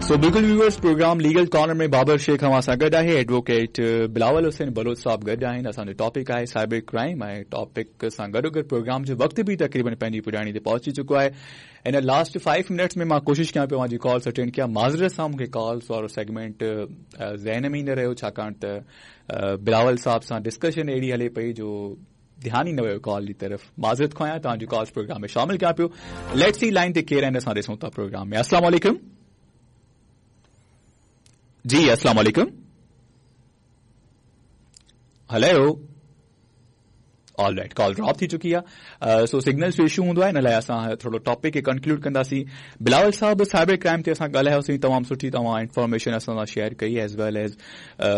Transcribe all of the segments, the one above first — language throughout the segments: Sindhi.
سو بلڪل viewers, programme legal corner ۾ Babar Shaikh اوهان سان گڏ آهي، ايڊووڪيٽ بلاول حسين بلوچ صاحب گڏ آهن. اسان جو ٽاپڪ آهي سائبر ڪرائيم ۽ ٽاپڪ سان گڏوگڏ پروگرام جو وقت به تقريبن پنهنجي پڄاڻي تي پهچي چڪو آهي. ان لاسٽ 5 منٽس ۾ مان ڪوشش ڪيان پيو اوهان جي ڪالز اٽينڊ ڪيان. معذرت سان مون کي ڪالز وارو سيگمينٽ ذهن ۾ ئي نه رهيو، ڇاڪاڻ ته بلاول صاحب سان ڊسڪشن اهڙي هلي پئي جو ڌيان ئي نه ويو ڪال جي طرف. معذرت خواهه آهيان، توهان جي ڪالز پروگرام ۾ شامل ڪيان پيو. Let's see line تي ڪير آهن، اسان ڏسون ٿا پروگرام ۾. السلام عليڪم. جي السلام عليڪم. هلو، آل رائٽ، ڪال ڊراپ ٿي چڪي آهي. سو سگنلز جو اشو هوندو آهي، ان لاء اسان ٿورو ٽاپڪ کي ڪنڪلوڊ ڪنداسين. بلاول صاحب، سائبر ڪرائم تي اسان ڳالهايوسين، تمام سٺي توهان انفارميشن اسان سان شيئر ڪئي، as well as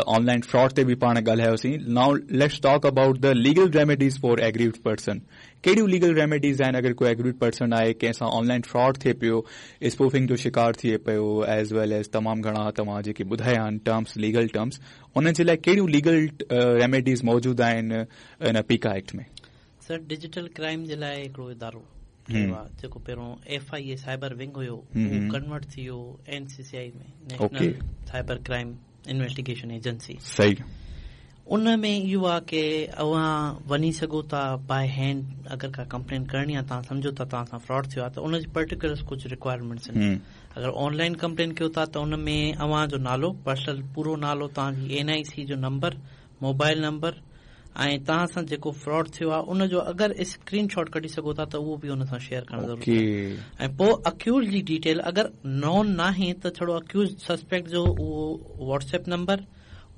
online fraud تي به پاڻ ڳالهايوسين. Now let's talk about the legal remedies for aggrieved person. ڪهڙيون ليگل ريميڊيز آهن اگر ڪو ايگريوڊ پرسن آهي، ڪنهن سان آن لائن فراڊ ٿئي پيو، اسپوفنگ جو شڪار ٿئي پيو، ايز ويل ايز تمام گهڻا توهان جيڪي ٻڌايا آهن ٽرمس، ليگل ٽرمس، انهن جي لاء ڪهڙيون ليگل ريميڊيز موجود آهن ان پيڪا ايڪٽ ۾؟ سر، ڊجيٽل ڪرائيم جي لاء هڪڙو ادارو ٺهيو آهي، جيڪو پهريون F I A cyber wing هيو، اهو ڪنورٽ ٿي ويو N C C I ۾ national cyber crime investigation agency. صحيح. ان ۾ اهو آهي ڪي اوهان وڃي سگهو ٿا باء هينڊ، اگر ڪا ڪمپلين ڪرڻي آهي، توهان سمجهو ٿا توهان سان فراڊ ٿيو آهي ته ان جي پرٽيڪولرز ڪجهه رڪوائرمينٽس آهن. اگر آن لائن ڪمپلين ڪيو ٿا ته ان ۾ اوهان جو نالو، پرسنل پورو نالو، توهان جي اين آء سي جو نمبر، موبائل نمبر ۽ توهان سان جيڪو فراڊ ٿيو آهي ان جو اگر اسڪرين شاٽ ڪڍي سگهو ٿا ته اهو به ان سان شيئر ڪرڻ ضروري آهي ۽ پوء اڪيوز جي ڊيٽيل، اگر نون ناهي ته ڇڙو اڪيوز سسپيڪٽ جو اهو واٽس ايپ نمبر،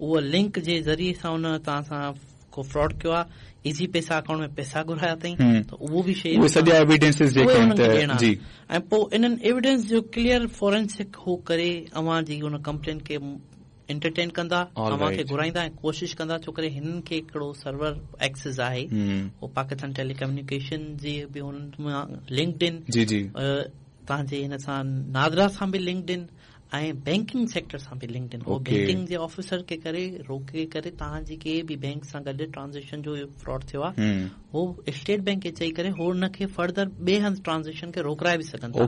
اهو لنڪ جي ذريعي سان ان توهان سان ڪو فراڊ ڪيو آهي، ايزي پيسا اڪائونٽ ۾ پيسا گهرايا اٿئي ته اهو به شيئر اهي سڄا ايويڊنسز جيڪي آهن ته جي ۽ پوء انهن ايويڊنس جو ڪليئر فورينسڪ هو ڪري اوهان جي ان ڪمپلين کي انٽرٽين ڪندا، اوهان کي گهرائيندا ۽ ڪوشش ڪندا، ڇو ڪري هنن کي هڪڙو سرور ايڪسز آهي، هو پاڪستان ٽيلي ڪميونيڪيشن جي به هنن مان لنڪڊ ان، جي جي توهان جي هن سان نادرا سان به لنڪڊ ان ۽ بينڪنگ سيڪٽر سان به لنڪڊ ان. هو بينڪنگ جي آفيسر کي ڪري روڪي ڪري توهان جي ڪنهن به بينڪ سان گڏ ٽرانزيڪشن جو فراڊ ٿيو آهي، هو اسٽيٽ بينڪ کي چئي ڪري هو ان کي فردر ٻئي هنڌ ٽرانزيڪشن کي روڪرائي به سگهن ٿا.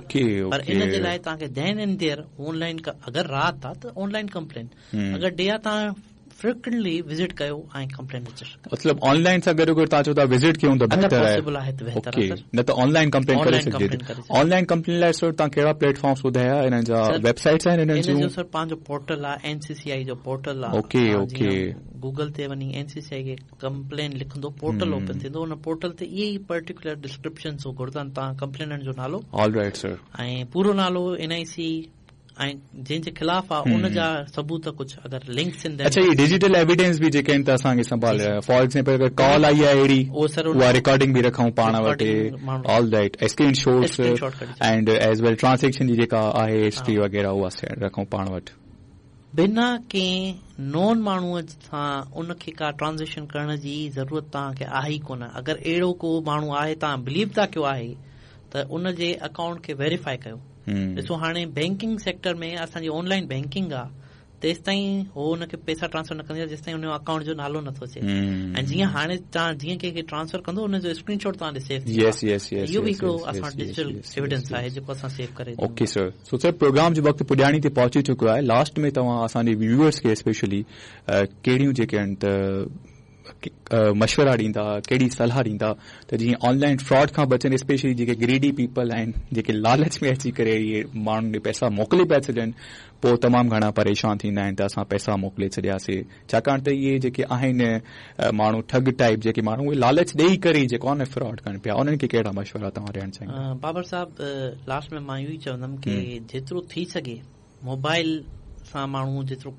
پر ان جي لاء توهان کي then and there on line, اگر رات آ ته آن لائن ڪمپلين، اگر ڊي آ توهان فريڪوئنٽلي وزٽ ڪيو ۽ ڪمپلين رجسٽر ڪيو. مطلب آن لائن سان گڏو گڏ توهان چئو ٿا وزٽ ڪيون ته بهتر آهي. اگر پاسيبل آهي ته بهتر آهي سر. نه ته آن لائن ڪمپلين ڪري سگهجي ٿي. آن لائن ڪمپلين لاء سر توهان ڪهڙا پليٽ فارمز ٻڌايا، انهن جا ويب سائيٽس آهن انهن جون؟ ان جو سر پنهنجو پورٽل آهي، اين سي سي آئي جو پورٽل آهي. Okay okay. Google تي وڃي اين سي سي آئي کي ڪمپلين لکندو، پورٽل اوپن ٿيندو، ان پورٽل تي اهي ئي پرٽيڪولر ڊسڪرپشنز هو گهرندا آهن، توهان ڪمپليننٽ جو نالو، آل رائيٽ سر، ۽ پورو نالو، اين آء سي ۽ جنهن جي خلاف آ ان جا ثبوت ڪجهه اگر لنڪس آهن. اڇا، اهي ڊجيٽل ايويڊنس به جيڪي آهن ته اسان کي سنڀال، فار ايگزامپل اگر ڪال آئي آهي اهڙي، اها رڪارڊنگ به رکون پاڻ وٽ. All right, screen shots and as well transaction جي جيڪا آهي هسٽري وغيره اها رکون پاڻ وٽ. بنا ڪنهن نون ماڻهوء سان ان کي ڪا ٽرانزيڪشن ڪرڻ جي ضرورت توهان کي آهي ئي ڪونه. اگر اهڙو ڪو ماڻهو آهي، توهان بليو ٿا ڪيو آهي ته ان جي اڪائونٽ کي ويريفائي ڪيو. ڏسو، هاڻي بينڪنگ سيڪٽر ۾ اسان جي آن لائين بينڪنگ آ، تيستائين هو ان کي پئسا ٽرانسفر نه ڪندي جيستائين ان جو اڪائونٽ جو نالو نٿو اچي ۽ جيئن هاڻي توهان جيئن ڪنهن کي ٽرانسفر ڪندو، ان جو اسڪرين شاٽ توهان ڏي سيو ٿي ويندو. اهو به هڪڙو اسان وٽ ڊجيٽل ايويڊنس آهي جيڪو اسان سيو ڪري. اوڪي سر، سو سر پروگرام جو وقت پڄاڻي تي پهچي چڪو آهي. لاسٽ ۾ توهان اسان جي ويوئرس کي اسپيشلي ڪهڙيون جيڪي آهن ته مشورا ڏيندا، ڪهڙي صلاح ڏيندا ته جيئن آن لائن فراڊ کان بچن، اسپيشلي جيڪي گريڊي پيپل آهن، جيڪي لالچ ۾ اچي ڪري اهي ماڻهن ڏي پئسا موڪلي پيا ڇڏين، پوء تمام گهڻا پريشان ٿيندا آهن ته اسان پئسا موڪلي ڇڏياسي، ڇاڪاڻ ته اهي جيڪي آهن ماڻهو ٺڳ ٽائيپ جيڪي ماڻهو، اهي لالچ ڏيئي ڪري ئي جيڪو آهي نه فراڊ ڪن پيا، انهن کي ڪهڙا مشورا توهان ڏيڻ چاهيندا؟ بابر صاحب، لاسٽ ۾ مان اهو ئي چوندم ڪي جيترو ٿي سگهي موبائل سان ماڻهو جيترو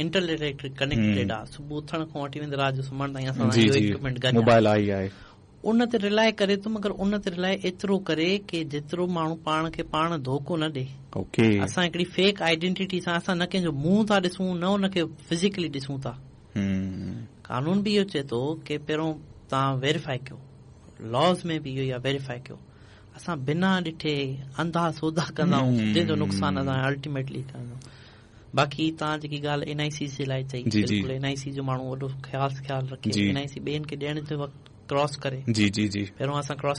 انٽرنيٽ ڪنيڪٽيڊ آ، صبح اٿڻ کان وٺي ويندي رات جو سمهڻ تائين اسان سان اهو ايڪوپمينٽ گڏ موبائل آهي آهي. ان تي رلائي ڪري ٿو، مگر ان تي رلائي ايترو ڪري ڪي جيترو ماڻهو پاڻ کي پاڻ ڌوڪو نه ڏي. اسان هڪڙي فيڪ آئيڊينٽيٽي سان اسان نه ڪنهن جو منهن ٿا ڏسون، نه ان کي فزيڪلي ڏسون ٿا. قانون به اهو چئي ٿو ڪي پهريون توهان ويريفائي ڪيو، لاز ۾ به اهو ئي آهي، ويريفائي ڪيو. اسان بنا ڏٺي انڌا سودا ڪندا آهيون، جنهن جو نقصان اسان الٽيميٽلي ڪندا آهيون. باقي توهان جيڪي ڳالهه اين آء سي جي لاء چئي، بلڪل اين آء سي جو ماڻهو وڏو خاص خيال رکي، اين آء سي ٻين کي ڏيڻ جي وقت ڪراس ڪري. جي جي جي پهريون اسان ڪراس